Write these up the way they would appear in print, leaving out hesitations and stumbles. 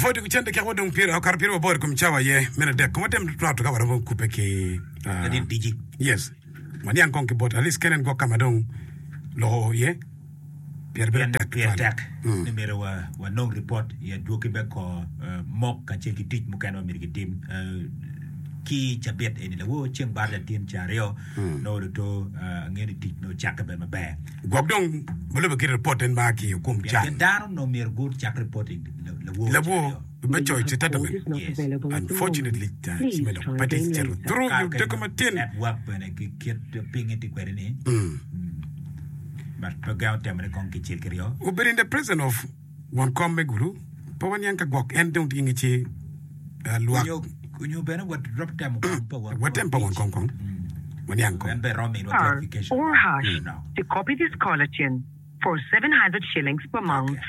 Wapwoyo tuku cente kek wadong pyera okato pyera waboro i kom cawa aye meno adek kong watem twato ka waromo kubbe ki ah, Ladit diji. yes waniang kong ki bot at least kenen gwok ka ma dong loko iye pire bedo Pien tek pire tutwal. tek Mm. ni myero wa- wanong ripot i adwogi me kor eh, mok kacel ki tic mukene ma myero gitim eh, ki cabit eni lawor ceng baraja tin ca aryo nongo luto eh, angeyo ni tic nongo ocakke bene maber. Gwok dong ma lubbe ki ripot en ma a ki i okum Pien can. pien dano onongo myero gucak reporting lawor ca Lawor aryo. me coyo citatement. Yes. Unfortunately, cime dok pe tye cito through Kare i kene odeko matin. network bene ki kit pinye tye kwede ni but pe gengo temone kong kicel kiryo. Obedo in the presence of won kom me Gulu, pe waniang ka gwok en dong tye ki ngec ci lwak. Onyo onyo bene waromo temo kong pa won Watem pa won kom kong. Waniang kong. En bene romo miniwa Star clarification or hash manok. to copy this caller tune for 700 shillings per month.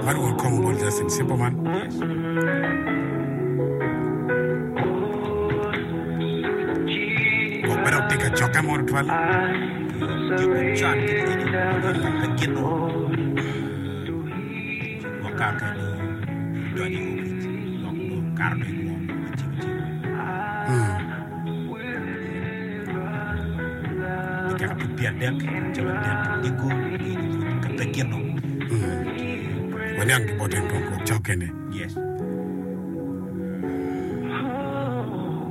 Man won kom bot Justin Simple man. Yes. Gwok pe dok tye ka cokke mo tutwal. Tyeko con kit eni obedo ka pe gino gwok kare kene nongo idonyo i opic gwok nongo kato dong i ngom me cimo cimo. Dakika pud pyerdek cawa adek odiko ka pe gino. Waniang ki bot en kong gwok cok kene. Yes.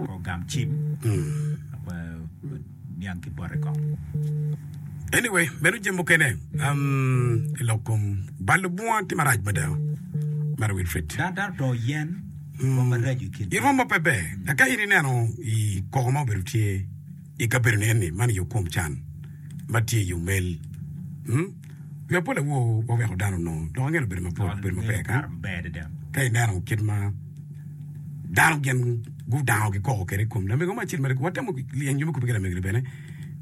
Kong gam cim. Niang ki bote kong. Anyway, meno jami mukene um, i lok kom balo bunga tye marac mada. Mara Wilfred. Dano dano otongo yen rwom maraco i kin I rwom ma pe ber. Ka in ineno i koko ma obedo tye i kabedo ni eni, man i okom can ma tye i omel. Hmm? Wi apol awo waweko dano onongo dok angeyo obedo mapol, obedo maber ka. Maber adada. Ka ineno kit ma dano gin gudango gikoko kwede i kom lamego mo acel ma watemo yenyo me kubbe ki lamego-ni bene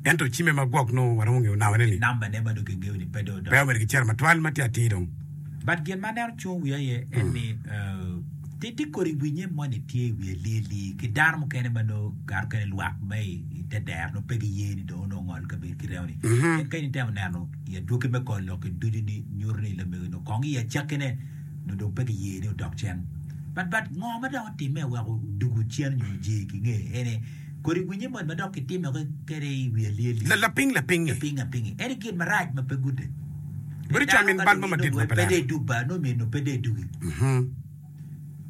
ento cimme ma gwok nongo waromo ngeyo nambane ni Nambane ma dong kingeyo ni pe dong pe odok. obedo ki cero matwal ma tye atir dong. But gin ma aneno cungo wiya aye en ni eh, tye tye kodi winye moni tye i wi alii alii ki dano mukene ma nongo kare mukene lwak ma i i te dero nongo pe giye ni dong onongo ongol kabedo ki remo ni. Pien ka in itemo neno i adwogi me kor lok-ki ducu ni nyuto ni lamego-ni kong i acakkine nongo dong pe giye ni odok cen. But but ngo ma dok otimme oweko odugu cen nyo oje ki nge ene kodi winye moni ma dok kitime kwede i wi alii alii. La lapiny lapiny-ngi. Lapiny lapiny-ngi. Ene gin marac ma pe gute. Bedo calo min bal mo madit ma pe Pe neno. dong idug ba nongo myero pe dong idugi.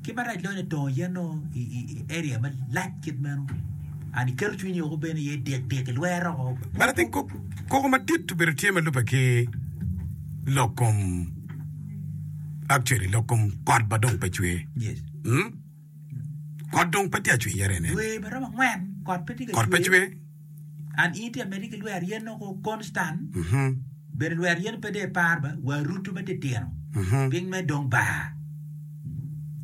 Ki marac loyo ni tongo yen nongo i i area malac kit meno and iketo cwinyi woko bene iye dik dik ilwero woko. But I think koko madit obedo tye ma lubbe ki lok kom Actually lok kom kot ba dong pe cwer. Yes. Hmm? Kot dong pe tye acwer yere nen. Dwe ma romo angwen kot pe tye ka Kot pe cwer. And in itye amedde ki lwer yen nongo constant. Mhm. Bene lwer yen pe dong ipar ba wa rutu ma titino. Mhm. Piny me dong bar.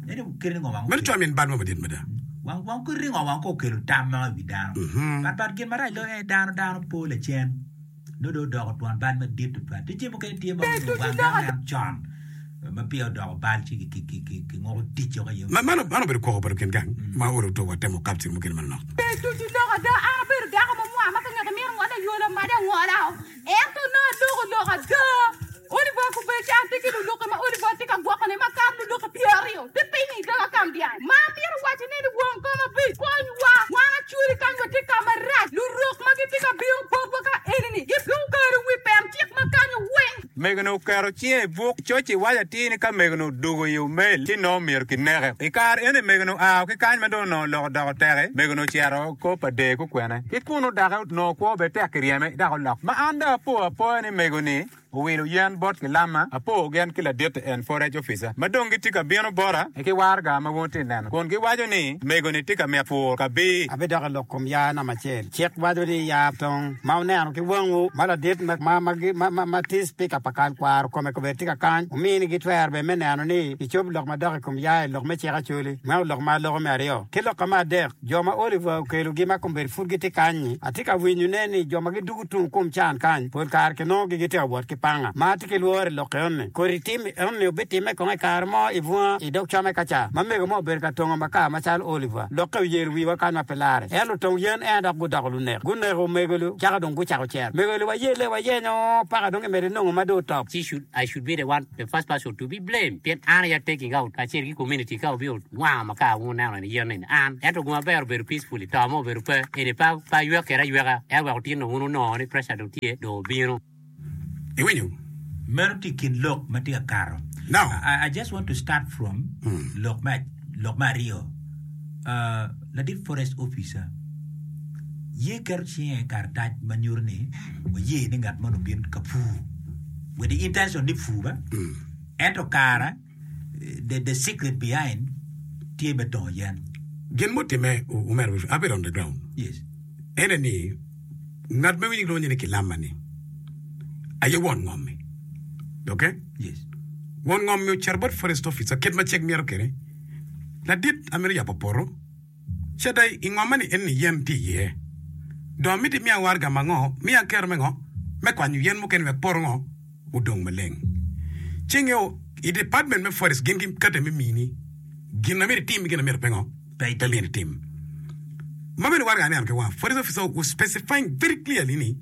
Ene kite ni ngo wang Meno cwalo min bal mo madit mada. Wang wang kite ni ngo wang ko okelo tam ma i wi dano. Mhm. But but gin marac loyo en dano dano po lacen. Nongo dong odoko twon bal madit tutwal. Tye jami mukene tye ma Ber onongo ducu wang dok dano neno con ma peya odoko bal ci kinguko tic woko iye. Ma man man obedo koko pa lukin gang ma olo to watemo kapcir mukene manok. Ber ducu lok ada, an abedo dako ma mwa ma ka ngete mito ngole ayola made angola o, ento nongo aloko lok ada. Oliver Kubeci an tye ki luluki ma Oliver tye ka gwokone makato luluki pyeraryo tye piny i doga kam dyang. Ma amito wacone ni won kom abic konywa wan acwali kany watye ka marac lurok ma gitye ka bino botwa ka eni-ni giketo wi pen cik ma kanyo weng. Mego-ni oketo cinge i buk, coc-ci waco atir ni ka mego-ni odwogo i omel, ci nongo myero kineke. I kare eni mego-ni oa ki kany ma dong onongo lok odoko teki, mego-ni ocito kor pa der kukwene. Ki kunnu dake onongo kwo bene tek kiryeme dok olok. Ma an dong apo apoya ni mego-ni Owilo yen bot kilamma, apo gen ki laditte en forage officer ma dong gitye ka bino bota ki waraga ma wun wutye neno kun giwaco ni mego-ni tye ka mito pur kabir. Abidok i lok kom yaa namba acel. Cik waco ni yaa tong ma wuneno ki wangwu ma ladit ma tye cipika pa kal kwaro kome kobedi tye ka kany, wuminigi twero bene me neno ni gicobo lok madok i kom yaa i lok me cik Acholi. Meno lok ma aloko me aryo. Ki lokka me adek, jo ma Oliver okelogi ma kombeddi pud gitye kany-nyi, atye ka winyone ni jo ma gidugo tung kom can kany pol kare kinongogi gitye ka wot ki. panga. Ma atye ki lworo i lok enoni, kodi tim enoni obitimme kong i kare mo i bunga i dog come ka ca ma mego mo obedo ka tongo makar macalo Oliver. Lokke oyelo wiwa kany ma pe larre. En lutong yen en dok gudoko lunek. Guneko omego-lu cako dong gucako cero. Mego-lu wayelle wayenyo paka dong imede nongo ma dong otop. She should, I should be the one, the first person to be blamed pien an aye a taking out kacel ki community ka obino wango makar wun wuneno eni yen eni an ento gum aber obedo peacefully to mo obedo pe eni pe pe aywek kede ayweka en weko tin dong wun wunongo ni pressure dong tye dong obino. Iwinyo? Meno tye i kin lok ma tye ka kato. Now. I, I just want to start from lok me lok me aryo. Uh, ladit forest officer ye keto cinge i karatac ma nyuto ni waye ni ngat moni obin ka pur with the intention ni pur ba ento kara the, the secret behind tye me tongo yen. Gin mutimme, omera, abedo on the ground. Yes. Ene ni, Ngat ma winyo gilwonye ni Kilama-ni aye won ngom-mi. Ok? Yes. Won ngom-mi ocito bot forest officer kit ma cik myero kwede. Ladit, amito yabo poto. Cita i ngomma-ni eni yen tye iye. Dong amito imiya waraga ma ngo? Miya kero me ngo? Me kwanyo yen mukene wek poto ngo? Odong maleng. Ci ingeyo, i department me forest gin gikate me mini gin ma myero itim ki gin ma myero pe ngo? Pe Pe myero itim. Ma bene waraga aneno ki wanga, forest officer was specifying very clearly ni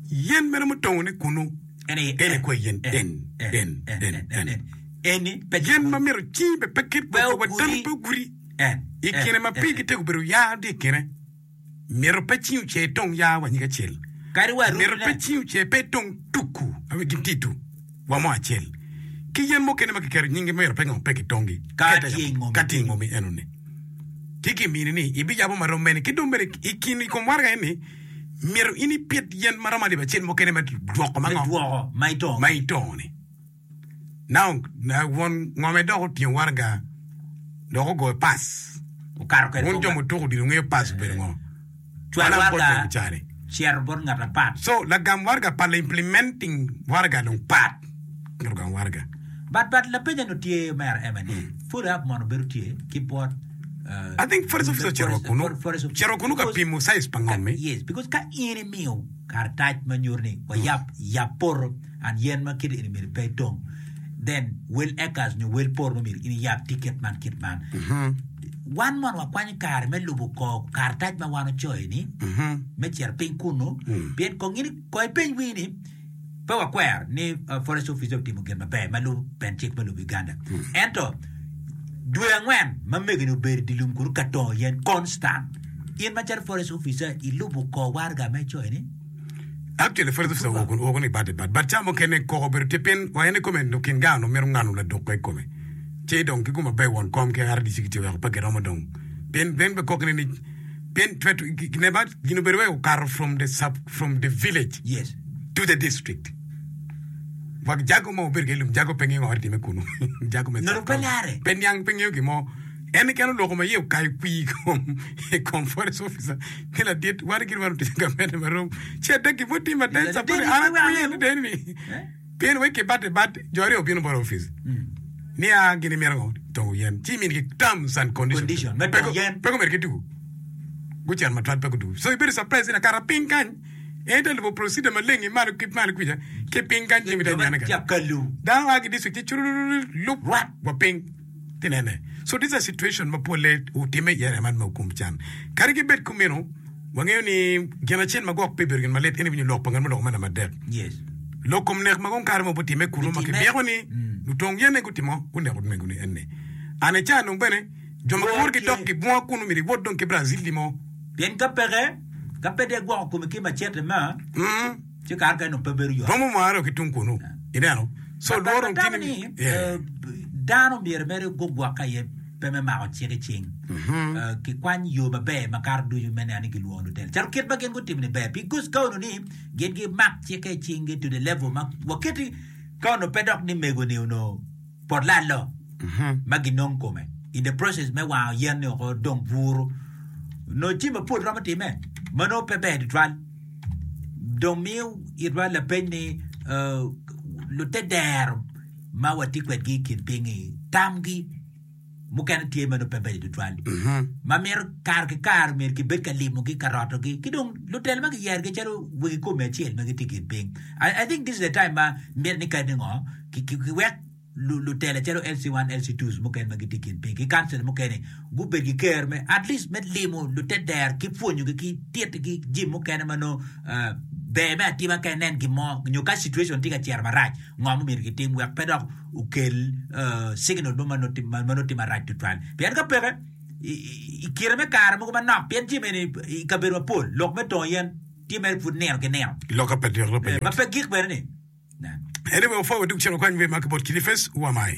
yen meno mutongo ni kunu En aye en aye en, kwa yen en, en, en, en, en, en, en, en. en. Eni pe Yen ma gigudi. myero cingi be pe kit Pe wa dano ogudi. pe ogudi. En, I en, kine ma en, pigi en. tego obedo yaa tye i kine. Myero pe cingi ocer itong yaa wa nyig acel. Kadi wa Myero pe rutine. cingi ocer pe itong tuku aye gin titu wa mo acel. Ki yen mukene ma kiketo nyingi myero pe ngo pe kitongi. Ka Kete tye i ngomi ka tye i kenyo. ngomi enoni. Ci kimini ni ibiyabo ma rom mene ki dong bene i kin i kom waraga eni myero in ipit yen ma romo alip acel mukene me dwoko ma Me ngo dwoko ma itongo. ma itongo ni. Now won ngome dok otingo waraga dok ogoyo pass. Okato kwede Wun jo mutuko odilo wungeyo pass obedo ngo. Cwal Alan bot waraga mego cani. cito bot ngat apat. So lagam waraga pa la implementing waraga dong pat ngat ogamo waraga. But but lapenya no tye omera ema ni follow up mono bedo tye ki bot uh, I think forest officer ocito wa kunu. forest officer. Ocito kunu ka Because- pimo size pa ngom-mi. Yes, because ka in imiyo karatac ma nyuto ni wayab yab poto and yen ma kite eni myero pe itong then wel acres nyo wel poto ma myero in iyab tye kit man kit man. Wan mono wakwanyo kare me lubo kor karatac ma wan ocoyo ni me cito piny kunu pien kong in kong ipeny wii ni pe wakwero ni forest officer otimo gin maber ma lubo pen cik me lobo Uganda ento dwe angwen ma megini obedo i dye lum kunu ka tongo yen constant in macalo forest officer ilubo kor waraga ma icoyo ni Actually forest officer woko woko ni bad bad but ca mukene koko obedo tye pien wa en ikome nyo kin gang onongo mito ngano ladukko ikome ci dong ki gum maber won kom ki RDC gitye weko pe giromo dong pien pien be kok ni ni pien tweto ne ba gin obedo wai okato from the sub from the village yes to the district wak jago ma obedo ki lum jago pe ngeyo ngo time kunu jago me Nongo pe lare. pe niang pe ngeyo gin mo En keken oloko ma iye okayo kwir i kom i kom forest officer ni ladit wan gin wan otic gamente marom ci adek gin mutimme aden sapore an akwiye ni deni ni pien wek kibate bat jo aryo obino bot office ni a gin imito ngo tongo yen ci imini ki terms and conditions Condition, me pe tongo yen. pe gumito ki tuku gucito matwal pe gudugu so ibedo surprise ni akata piny kany en te lubo procedure maleng i malo ki malo kwica ki piny kany jami te nyane Tye kany akalu. dano a ki district ci curururu lup Rwat. wa piny Ti nene. So this a situation ma polle otimme i area man me Okum Can. Kadi ki bed kumeno, wangeyo ni gin acel ma gwok pe bedo gin malit en aye winyo lok pa ngat muloko me namba adek. Yes. Lok kom nek ma kong kare mogo otimme kunu ma Bitimme. kibyeko ni Mm. lutong yen aye gutimo guneko mego ni en ni. An i ca dong bene jo ma Lworo giwoto ki tye. dok ki bunga kunu myero iwot dong ki Brazil mo. Pien ka peke, ka pe dong igwoko komi ki macete ma, Mm. ci kare kene dong pe bedo yot. Romo mwaro ki tung kunu. Ineno? So But- but lworo atamo tye ni ni yeah. eh, dano myero mere gugwokke aye pe me mako cik i cing. Eh, Kikwany yo maber makato ducu me neno ni gilwongo lutela. Calo kit ma gin gutimo ni ber. Because ka onongo ni gin gimak cikke i cinggi to the level ma waketi ka onongo pe dok ni mego-ni onongo pot lalo ma ginong kome in the process me wango yen ni oko dong buru nongo jami mapol romo time ma nongo pe ber tutwal. Dong miyo itwa lapeny ni lutedero ma watye kwedgi i kin piny-ngi tamgi. mukene tye ma nongo pe beco tutwal ma mito kare ki kare myero kibed ka limogi ka rotogi ki dong lutelo ma kiyerogi calo wegi kome acel ma gitye i kin piny. I, I think this is the time ma mitte ni kadi ngo ki, ki, kiwek lutela calo LC1, LC2s mukene ma gitye i kin piny ki kancil mukene gubed ki ker me at least me limo lutedero ki pwonyogi ki tittigi jami mukene ma nongo ber me atima ka inen gin mo nyo ka situation tye ka cito marac ngo ma myero gitim wek pe dok okel signal mo ma nongo tye marac tutwal pien ka peke i kine me kare mogo manok pien jami eni i kabedo mapol lok me tongo yen tye mere pud nino ki nino Loka pe dok ma pe gik bene ni. Anyway, wapwoyo wadug cen wakwany wer ma ki bot Kilifes, wamai.